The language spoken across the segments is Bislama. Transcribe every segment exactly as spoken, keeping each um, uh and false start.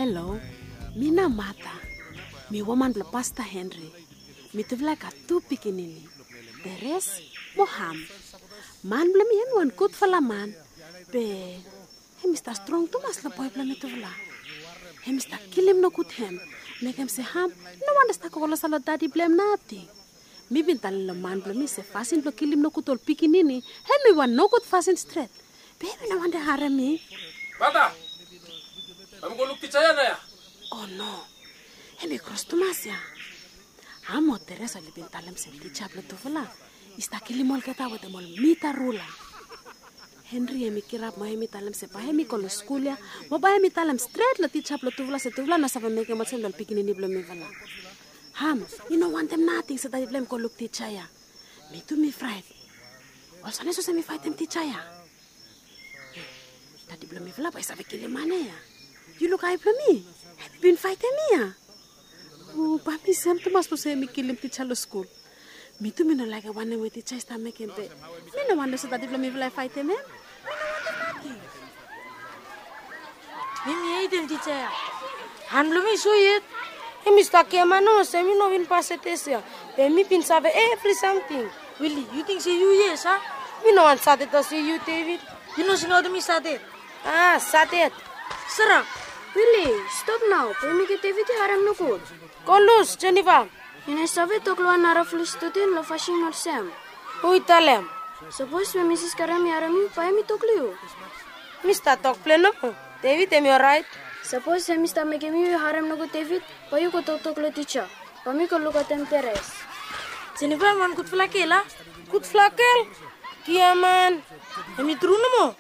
Halo, mi na Mata. Mi woman blong Pasta Henry. Mitufala i gat tu pikinini, Teres mo Ham. Man blong mi hem i wan gudfala man, be hem i stap strong tumas long boe blong mitufala. Hem i stap kilim nogud hem, mekem se Ham i no wantem stap go klosap long dadi blong hem nating. Mi bin talem long man blong mi se fasin blong kilim nogud ol pikinini hem i wan nogud fasin stret. Be hem i no wantem harem mi. Mata, bae mi go luk tija ya nao ya. O no, hem i kros tumas ya. Ham o Teres oli bin talem se tija blong tufala i stap kilim olgeta wetem ol mita rula. Henry hem i kirap mo hem i talem se bae hem i go long skul ya mo bae hem i talem stret long tija blong tufala se tufala no save mekem olsem long ol pikinini blong mifala. Ham i no wantem nating se dadi blong hem i go luk tija ya. Mi tu mi fraet. Olsem nao olsem i faetem tija ya. Dadi blong mifala bae i save kilim man ya. Yu luk ae blong mi. Hem i bin faetem mi ya. O, bae mi sem tumas long se hem i kilim tija long skul. Mi tu mi no laekem wanem we tija i stap mekem, be mi no wantem se dadi blong mifala i faetem hem. Mi no wantem nating. Mi mi hetem tija ya. Han blong mi i so yet. Hem i stap giaman nomo se mi no bin pasem tes ya. Be mi bin save evri samting. Wili, yu ting se yu yes a? Mi no wan satet olsem yu, David. Yu no singaotem mi satet. A, satet. Sara. Wili, stop nao. Be mekem David i harem nogud. Go lus, Jennifer. Yu no save tok long wan narafala studen long fasin olsem. Hu i talem? Sapos we Misis Karam i harem yu, bae hem i tok long yu. Mi stap tok plen nomo. David hem i oraet. Sapos hem i stap mekem yu i harem nogud David, bae yu go toktok long tija. Bae mi go lukaotem Teres. Jennifer hem wan gudfala gel a? Gudfala gel? Giaman. Hem i tru nomo.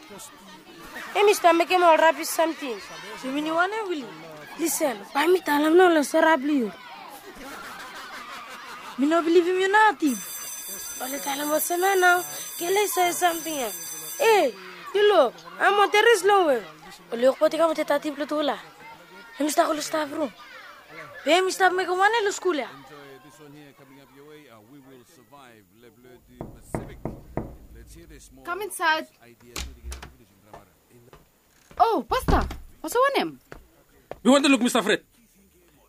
Hem i stap mekem ol rabis samting. Yumi no wanem, Wili. Lisen, bae mi talem nao long sara blong yu. Mi no bilivim yu nating. Oli talem olsem ya nao, gel ya i save samting ya. E, yu luk, Ham o Teres long we. Oli wokbaot i kam wetem dadi blong tufala. Hem i stap go long staf rum. Be hem i stap mekem wanem long skul ya? Kam insaed. O, Pasta, olsem wanem? Mi wantem luk Mista Fred.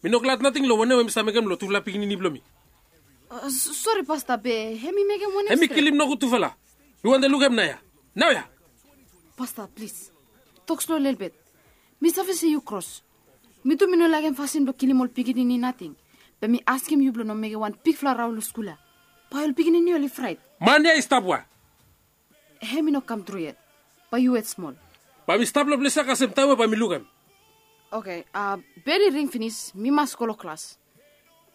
Mi no glad nating long wanem we Mista mekem long tufala pikinini blong mi. A, s-, sori, Pasta, be hem i mekem wanem stret? Hem i kilim nogud tufala. Mi wantem luk hem naoia. Naoia. Pasta, plis, tok slo lelebet. Mi save se yu kros. Mi tu mi no laekem fasin blong kilim ol pikinini nating. Be mi askem yu blong no mekem wan bigfala raon long skul ya. Bae ol pikinini oli fraet. Man ya i stap we? Hem i no kam tru yet. Bae yu wet smol. Bae mi stap long ples ya kasem taem we bae mi lukim. Oke, a, bel i ring finis, mi mas go long klas.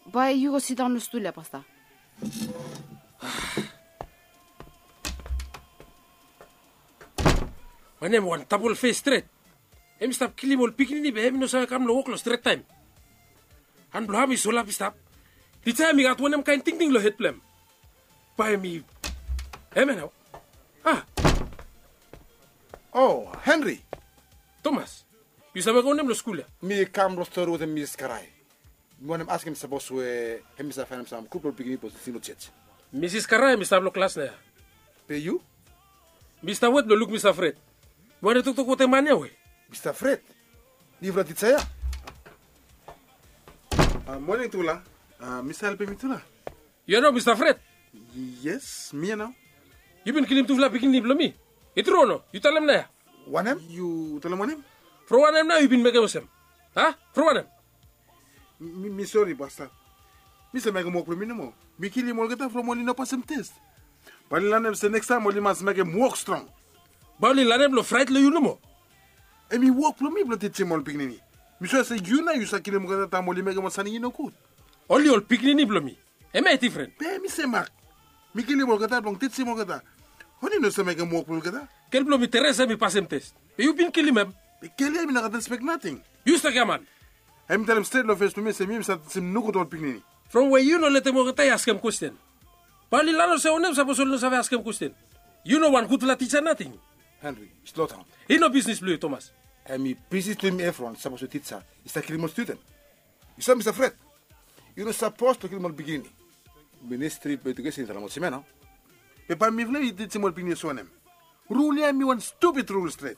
Bae yu go sidaon long stul ya, Pasta. Wanem, wan tapol fes stret. Hem i stap kilim ol pikinini be hem i no save kam long wok long stret taem. Han blong Ham i solap i stap. Tija hem i gat wanem kaen tingting long hed blong hem? Bae mi, hem ya nao. A. O, Henry. Tomas, yu stap mekem wanem long skul ya? Mi kam blong stori wetem Misis Karai. Mi wantem askem sapos we hem i save faenem sam gud blong pikinini blong tingting long jos. Misis Karai hem i stap long klas naoia. Be yu? Mi stap wet blong luk Mista Fred. Mi wantem toktok wetem man ya we? Mista Fred? Nifala tija ya? A, moning tufala. A, mi save helpem yutufala? Yu ya nao Mista Fred? Yes, mi ya nao. Yu bin kilim tufala pikinini blong mi. I tru o no? Yu talem naoia. Wanem? Yu talem wanem? From wanem nao yu bin mekem olsem? A? From wanem? Mi, mi sori, Pasta. Mi save mekem wok blong mi nomo. Mi kilim olgeta from oli no pasem tes. Bae oli lanem se nekstaem oli mas mekem wok strong. Bae oli lanem long fraet long yu nomo. Hem i wok blong mi blong tijim ol pikinini. Mi sua se yu nao yu save kilim olgeta taem oli mekem ol samting i no gud. Oli ol pikinini blong mi. Hemia i difren. Be mi se mak. Mi kilim olgeta blong tijim olgeta. Oli no save mekem wok blong olgeta. Gel blong mi Teres hem i pasem tes. Be yu bin kilim hem. Be gel ya hem i no gat rispek nating. Yu stap giaman. Hem i talem stret long fes blong mi se mi mi save tijim nogud ol pikinini. From we yu no letem olgeta i askem kwesten. Bae oli lanem se wanem sapos oli no save askem kwesten. Yu no wan gudfala tija nating. Henry, slodaon. I no bisnis blong yu, Tomas. Hem i bisnis blong mi Efron sapos ol tija i stap kilim ol studen. Yu save Mista Fred, yu no sapos blong kilim ol pikinini. Ministri blong Ejukesen i talem olsem ya nao. Be bae mifala i tijim ol pikinini olsem wanem? Rul ya hem i wan stupid rul stret.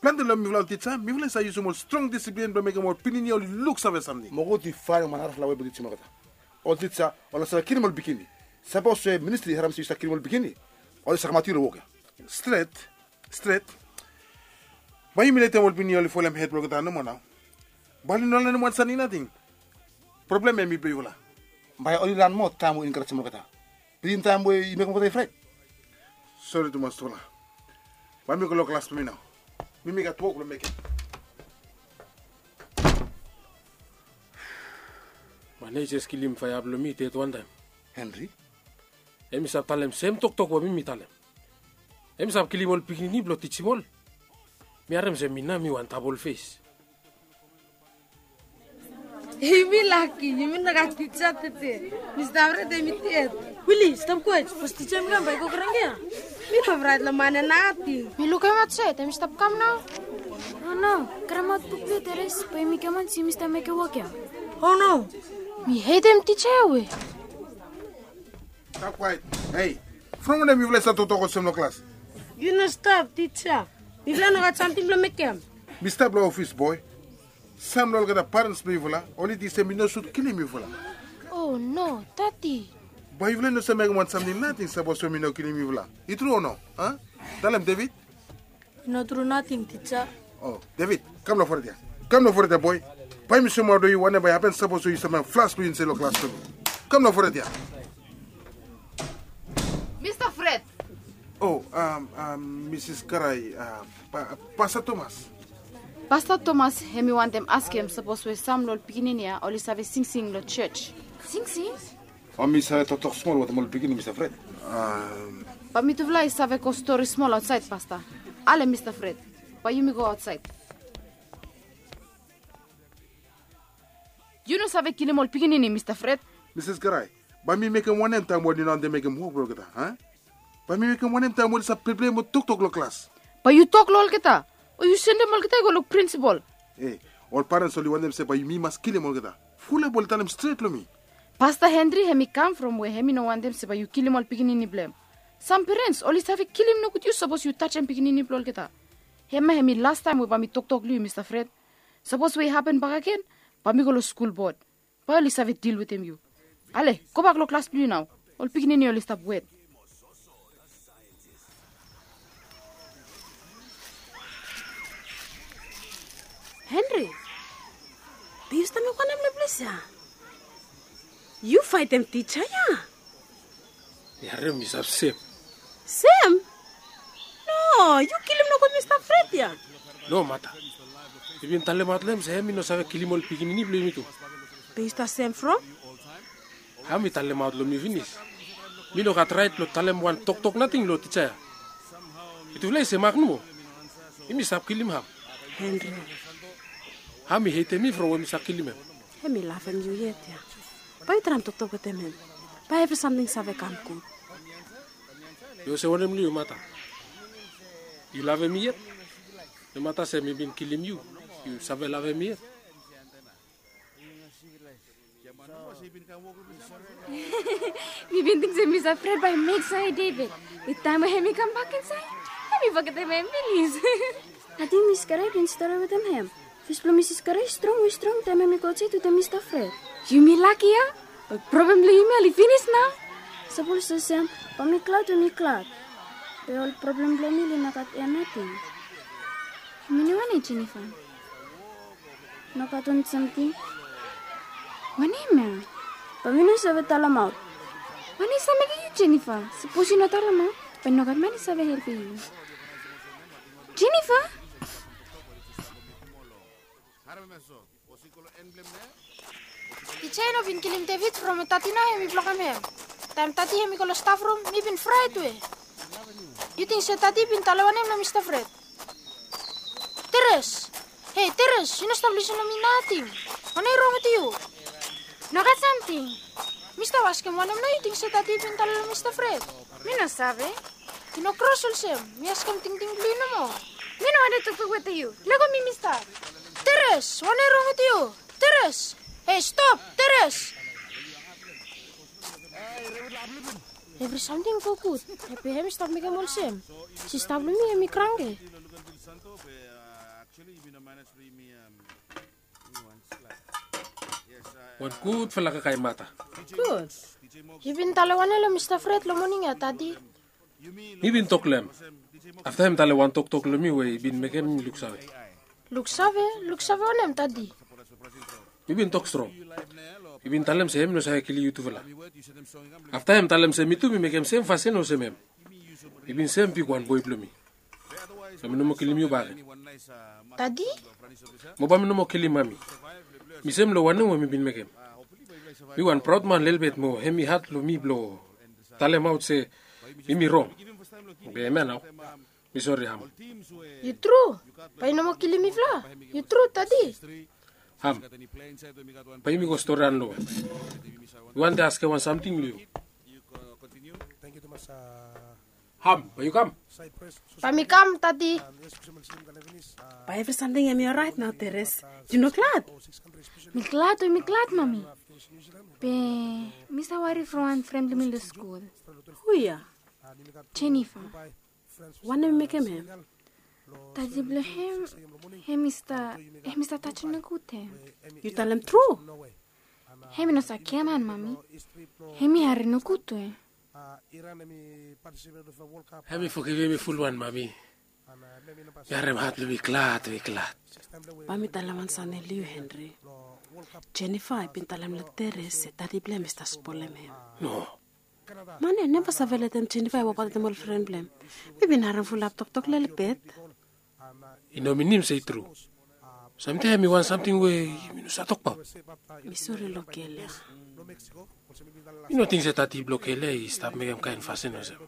Plante long mifala ol tija, mifala i save yusum ol strong disiplin blong mekem ol pikinini oli luksave samting. Mo gud i faenem wan narafala wei blong tijim olgeta. Ol tija oli no save kilim ol pikinini. Sapos we ministri i harem se yu save kilim ol pikinini, oli save kamaot yu long wok ya. Stret, stret. Bae yumi letem ol pikinini oli folem hed blong olgeta nomo nao. Bae oli no lanem wan samting nating. Problem ya mi blong yufala. Bae oli lanem moa taem we yu enkarejem olgeta. Bitim taem we yu mekem olgeta i fraet. Sori tumas tufala. Bae mi go long klas blong mi nao. Mi mi gat wok blong mekem. Man ya i jes kilim faea blong mi ded wantaem. Henry? Hem i save talem sem toktok we mi mi talem. Hem i save kilim ol pikinini blong tijim ol. Mi harem se mi nao mi wan dabol fes. Yumi laki, yumi no gat tija tede. Mista Fred hem i ded. Wili, stap kwaet. Sapos tija hem i kam bae i go kranki ya. Mi no fraet long man ya nating. Mi lukim aotsaed, hem i stap kam nao. O no, karemaot buk blong yu Teres, bae yumi giaman se yumi stap mekem wok ya. O no. Mi hetem tija ya we. Stap kwaet. Hei, from wanem yufala i stap toktok olsem long klas? Yu no stap, tija. Mifala no gat samting blong mekem. Mi stap long ofis boe. Sam long olgeta parens blong yufala oli ting se mi no sud kilim yufala. O no, dadi. Bae yufala i no save mekem wan samting nating sapos we mi no kilim yufala. I tru o no? A? Talem David. I no tru nating, tija. O David, kam long fored ya. Kam long fored ya boe. Bae mi soemaot long yu wanem bae i hapen sapos we yu stap mekem flas blong yu insaed long klas blong mi. Kam long fored ya. Mista Fred. O, am, am, Misis Garai, a, Pasta Tomas. Pasta Tomas hem i wantem askem sapos we sam long ol pikinini ya oli save singsing long jos. Singsing? Bae mi save toktok smol wetem ol pikinini, Mista Fred. Bae mitufala i save go stori smol aotsaed, Pasta. Ale, Mista Fred, bae yumi go aotsaed. Yu no save kilim ol pikinini, Mista Fred. Misis Garai, bae mi mekem wanem taem we oli no wantem mekem wok blong olgeta, a? Bae mi mekem wanem taem we oli save pleplei mo toktok long klas? Bae yu tok long olgeta, o yu sendem olgeta i go long prinsipol. E, ol parens oli wantem se bae yumi mas kilim olgeta. Fulap oli talem stret long mi. Pasta Henry hem i kam from we hem i no wantem se bae yu kilim ol pikinini blong hem. Sam perens oli save kilim nogud yu sapos yu tajem pikinini blong olgeta. Hem ya hem i lastaem we bae mi toktok long yu, Mista Fred. Sapos we i hapen bakegen, bae mi go long skul bod. Bae oli save dil wetem yu. Ale, gobak long klas blong yu nao. Ol pikinini oli stap wet. Henry, be yu stap mekem wanem long ples ya? Yu faetem tija ya? Ya, hem i stap sem. Sem? No, yu kilim nogut Mista Fred ya. No, Mata. Mi bin talemaot long hem se hem i no save kilim ol pikinini blong yumi tu. Be yu stap sem from? Hem i talemaot long mi finis. Mi no gat raet blong talem wan toktok nating long tija ya. Mitufala i semak nomo. Yumi stap kilim hem. Henry. Hem i hetem mi from we mi stap kilim hem. Hem i lavem yu yet ya. Bae yu traem toktok wetem hem. Bae evri samting save kam gud. Yu olsem wanem long yu, Mata? Yu lavem mi yet? Nomata se mi bin kilim yu, yu save lavem mi yet? Mi bin ting se Mista Fred bae i mek save David. Be taem we hem i kambak insaed, hem i fogetem hem finis. Ating Misis Garai bin stori wetem hem. Fes blong Misis Garai i strong we i strong taem hem i go aotsaed wetem Mista Fred. Yumi laki ya. Ol problem blong yumi oli finis nao. Sapos olsem, bae mi glad we mi glad. Be ol problem blong mi oli no gat eni nating. Yumi no wanem, Jennifer? Nogat wan samting. Wanem ya? Bae mi no save talemaot. Wanem i save mekem yu, Jennifer? Sapos yu no talemaot, bae nogat man i save helpem yu. Jennifer? Tija i no bin kilim David from we dadi nao hem i blokem hem. Taem dadi hem i go long stafrum, mi bin fraet we. Yu ting se dadi bin talem wanem long Mista Fred? Teres! Hei, Teres, yu no stap lisin long mi nating. Wanem i rong wetem yu? Nogat samting. Mi stap askem wanem nao yu ting se dadi bin talem long Mista Fred? Mi no save. Yu no kros olsem. Mi askem tingting blong yu nomo. Mi no wantem toktok wetem yu. Lego mi, Mista. Teres, wanem i rong wetem yu? Teres! Hei, stop, Teres! Evri samting i go gud. Be hem i stap mekem olsem. Sista blong mi hem i kranke. Wan gudfala kakae mata. Gud. Yu bin talem wanem long Mista Fred long moning ya, Dadi? Mi bin tok long hem. Afta hem talem wan toktok long mi we i bin mekem mi luksave. Luksave? Luksave wanem, Dadi? Mi bin tok strong. Mi bin talem se hem i no save kilim yutufala. Afta hem talem se mi tu mi mekem sem fasin olsem hem. Mi bin sem pik wan boe blong mi. So mi no moa kilim yu bakegen. Dadi? Mo bae mi no moa kilim mami. Mi sem long wanem we mi bin mekem. Mi wan praod man lelebet mo hem i had long mi blong talemaot se yumi rong. Be hemia nao. Mi sori, Ham. Yu tru? Bae yu no moa kilim mifala? Yu tru, Dadi? Ham, bae yumi go storian long hem. Mi wantem askem wan samting long yu. Ham, bae yu kam? Bae mi kam, Dadi. Bae evri samting hemi oraet nao, Teres? Yu no glad? Mi glad o, mi glad, Mami. Be mi save wari from wan fren blong mi long skul. Hu ya? Jennifer. Wanem i mekem hem? Dadi blong hem, hem i stap, hem i stap tajem nogud hem. Yu talem tru? Hem i no save giaman, Mami. Hem i harem nogud we. Hem i fogivim mi fulwan, Mami. Mi harem hat blong mi glad, mi glad. Bae mi talem wan samting long yu, Henry. Jennifer i bin talem long Teres se dadi blong hem i stap spolem hem. No. Man ya neva save letem Jennifer i wokbaot wetem ol fren blong hem. Mi bin harem fulap toktok lelebet. I no minim se i tru. Samtaem hem i wan samting we yumi no save tokbaot. Mi sori long gel ya. Mi no ting se dadi blong gel ya i stap mekem kaen fasin olsem.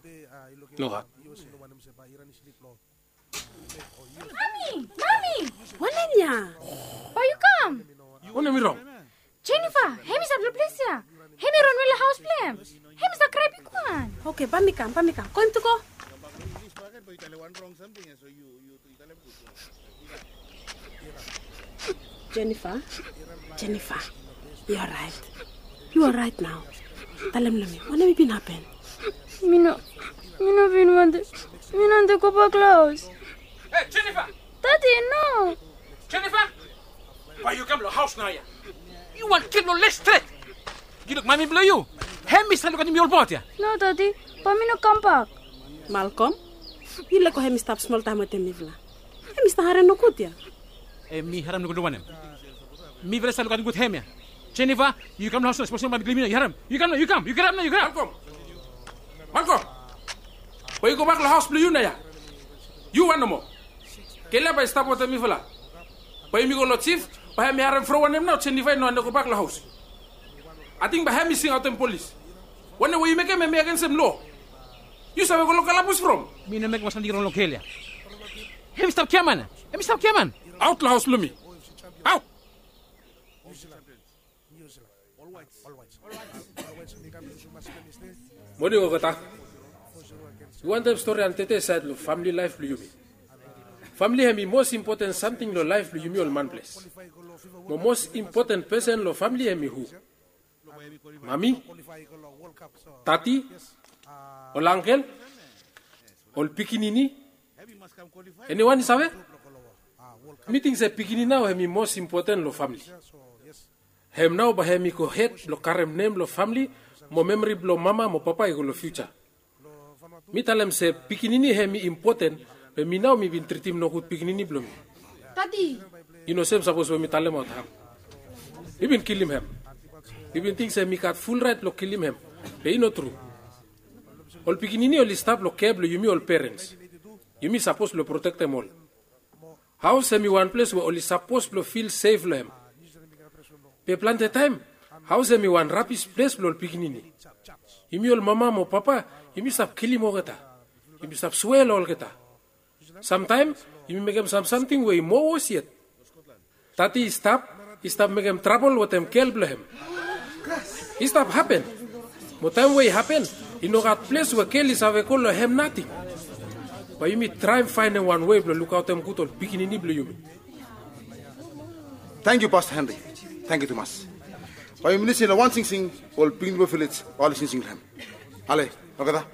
Nogat. Mami! Mami! Wanem ya? Bae yu kam. Wanem i rong? Jennifer, hem i stap long ples ya. Hem i ronwe long haos blong hem. Hem i stap krae bigwan. Oke, bae mi kam, bae mi kam. Go intu, go. Jennifer, Jennifer, yu oraet? Yu oraet nao? Talem long mi, wanem i bin hapen? Mi no, mi no bin wantem, mi no wantem gobak long haos. Hei, Jennifer! Dadi, no! Jennifer! Bae yu kam long haos naoia. Yu wan kid long les stret. Yu luk mami blong yu. Hem i stap lukaotem yu olbaot ya. No, Dadi, bae mi no kambak. Malkom, yu lego hem i stap smol taem wetem mifala. Hem i stap harem nogud ya. Hem i harem nogud long wanem? Mifala i stap lukaotem gud hem ya. Jennifer, yu kam long haos nao, sapos no bae mi kilim yu nao, yu harem? Yu kam nao, yu kam, yu kirap nao, yu kirap. Malkom! Malkom! Bae yu gobak long haos blong yu naoia. Yu wan nomo. Gel ya bae i stap wetem mifala. Bae yumi go long jif, bae hem i harem from wanem nao Jennifer i no wantem gobak long haos. Ating bae hem i singaotem polis. Wanem we yu mekem hem i agensem loa. Yu save go long kalabus from. Mi no mekem wan samting rong long gel ya. Hem i stap giaman ya. Hem i stap giaman. Aot long haos blong mi. Aot. Moning olgeta. Yu wantem stori antete saed long famili laef blong yumi. Famili hem i mos impoten samting long laef blong yumi ol manples. Mo mos impoten pesen long famili hem i hu? Mami, dadi, ol angkel, ol pikinini. Eniwan i save? Mi ting se pikinini nao hem i mos impoten long famili. Hem nao bae hem i go hed blong karem nem long famili mo memori blong mama mo papa i go long fiuja. Mi talem se pikinini hem i impoten, be mi nao mi bin tritim nogud pikinini blong mi. Dadi! I no sem sapos we mi talemaot hem. Mi bin kilim hem. Mi bin ting se mi gat ful raet blong kilim hem, be i no tru. Ol pikinini oli stap long kea blong yumi ol perens. Yumi sapos blong protektem ol. Haos hem i wan ples we oli sapos blong fil sef long hem. Be plante taem haos hem i wan rabis ples blong ol pikinini. Yumi ol mama mo papa, yumi stap kilim olgeta. Yumi stap swea long olgeta. Samtaem yumi mekem sam samting we i moa wos yet. Dadi i stap, i stap mekem trabol wetem gel blong hem. I stap hapen. Mo taem we i hapen, i no gat ples we gel i save go long hem nating. Bae yumi traem faenem wan wei blong lukaotem gud ol pikinini blong yumi. Tangkiu, Pasta Henry. Tangkiu tumas. Bae yumi lisin long wan singsing we ol pikinini blong vilej bae oli singsing long hem. Ale, olgeta.